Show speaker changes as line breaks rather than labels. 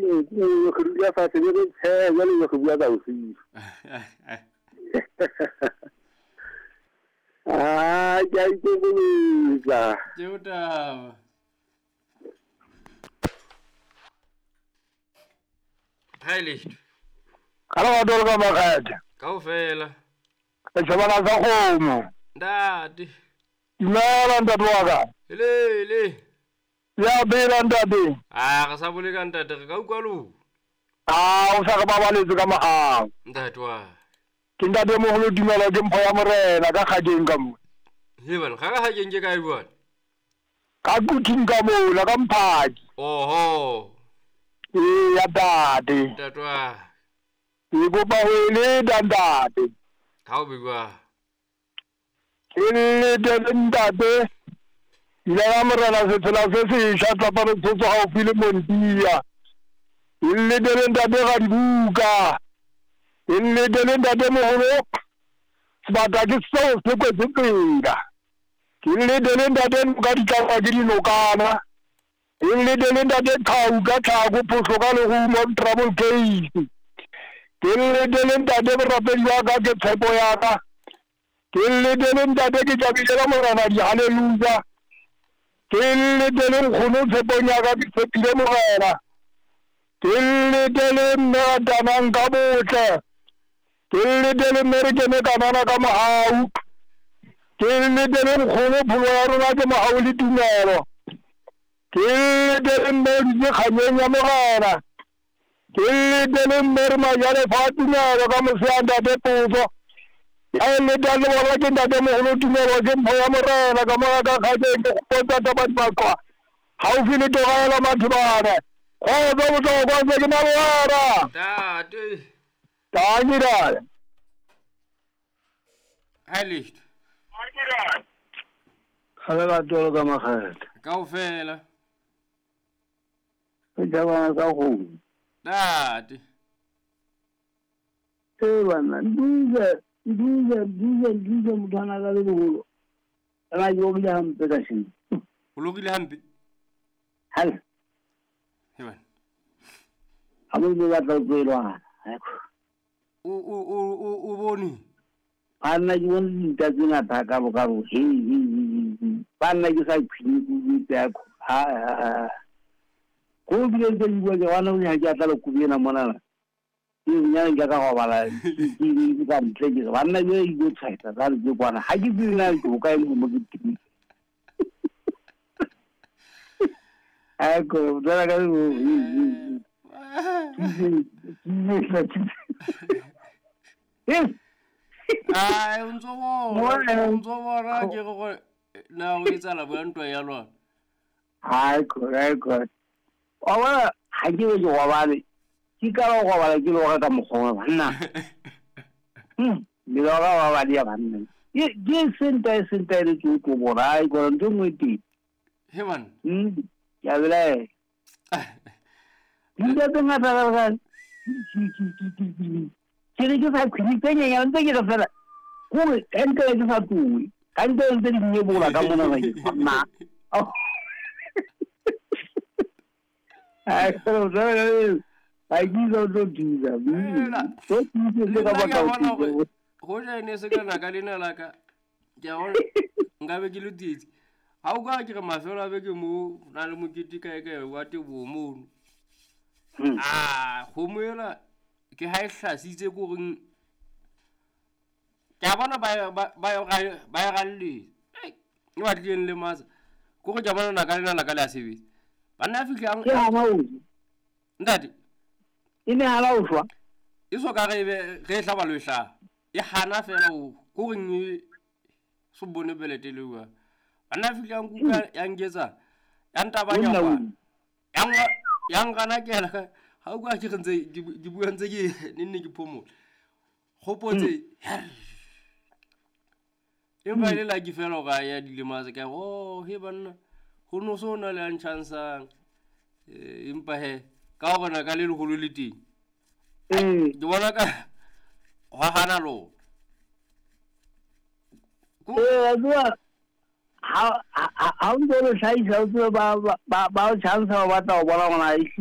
dinku re dula fatshe be re tshehe jwale re bua ka bosiu. Ah, ke a ikokobetsa.
Ke taba. Heiligt.
Ka lerato le ka makgethe.
Kaofela.
Setjhabana sa kgomo.
Ntate.
Dumela ntate wa ka.
Helele.
Ya phela ntate.
A re sa bole ka ntate re ka utlwa lo.
A o sa re babaletse ka mohau.
Ntate wa.
Ke ntate moholo dumela ke mpho ya morena ka kgakeng ka mo.
He bana, ga ka kgakeng ke kae bana?
Ka kuthing ka mola ka mphaki.
Oho.
Ee ya ntate.
Ntate wa.
Ke kopa ho e leta ntate.
Ha o be jwang?
Ke lete le ntate. Ile ya morena setsela se sesha tlapa re tshotso gaufi le Montia. Ke lete le ntate ga dibuka. Ke lete le ntate moholo. Sebata ke seo se kwetse tsela. Ke lete le ntate noka di tlangwa ke dinokana. Ke lete le ntate qhau ka tlhako phohlo ka lerumo trouble case. Ke lete le ntate borapedi wa ka ke tshepo ya ka. Ke lete le ntate ke tšabile ka morena dihaleluja. Ke lete le nkgono tshepong ya ka ke tshepile morena. Ke lete le mme a tanang ka botle. Ke lete le mme re kene kanana ka mohau. Ke lete le nkgono pholo ya rona ke mohau le tumelo. Ke lete le mme o dutse kganyeng ya morena. Ke lete le mme re majalefa a tumelo ka mosea ntate potso. Ya leta le bona ke ntate moholo tumelo ke mpho ya morena ka moya ka kgakeng ke gopotsa taba dibaqwa gaufi le tora ya Mathibane. Kgotso bohlokwa ntse ke na le wena.
Ntate.
Tanki dale.
Heiligt.
Ga lerato le ka makgethe.
Kaofela.
Setjhabana sa kgomo.
Ntate.
Ee banna, diesel, diesel, diesel, diesel motho a na ka le boholo. Ana ke lokile hampe ka sheno.
O lokile hampe?
Hal.
He bana.
Ha mo ile batla ho tsoelwana.
O bone?
Banna ke bone dinta tse ngata ka bo ka bo. He he he. Banna ke sa khwini ke itse ya ko. Ha ha. Go bile ntse di bua ke bona o ha ke atla le kubena mona. Ke nyane ke ka go bala ke ka ntle ke banna ke ile tshwaetsa ka re ke kwana ha ke tsebe na ke bokae mo ke teng. A ko dala ka go
Ai o ntso bona ke go na o etsala bua ntwa ya lona.
Ai ko ai ko. Wa bona ha ke be ke gobale. Ke ka go gobala ke loga ka mokgwa banna. Me loga wa ba dia banna. Ke senta le ke go bona ai go ntho nngwe teng.
He man.
Ya bela. Dinta tse ngata ka ke re ke sa khwini tse nyenyane ntse ke re fela kore ka ntle ke sa tloe ka ntle ntse di nyebola ka mona ba nna. Ai go ai ke zo tlo dira. So ke le ka batla go
go ja ene se kana ka lena la ka. Ke a bona nka be ke le tsietsi. Ha o ka ke re mafelo a beke mo na le mokete kae kae wa teboho mono. Ah, kgomo ela ke ha e hlasitse ko reng ke a bona ba e ralletse. E batlileng le matsa. Ko go ke a bona naka lena la ka le a sebetsa. Banna a fihlang
ke hana o.
Ntate.
E ne hana o shwa.
E so ka re re e hlaba lo e hlaba. E hana fela o ko reng e so bone belete le bua. Banna a fihlang kuka ya nketsa ya ntabanya kwa. Ya ngana ke la ha o ka ke ntse ke bua ntse ke nne ke phomola. Gopotse empa ile la ke fela ga ya dilema tse ka oh he banna go no so na le a nchansang. Empa he ka gona ka le leholo le teng. Ke bona ka hwa hana lo.
Ee ha o ntse o le hlahisa o tsebe ba o chansa ba batla ho bona hore na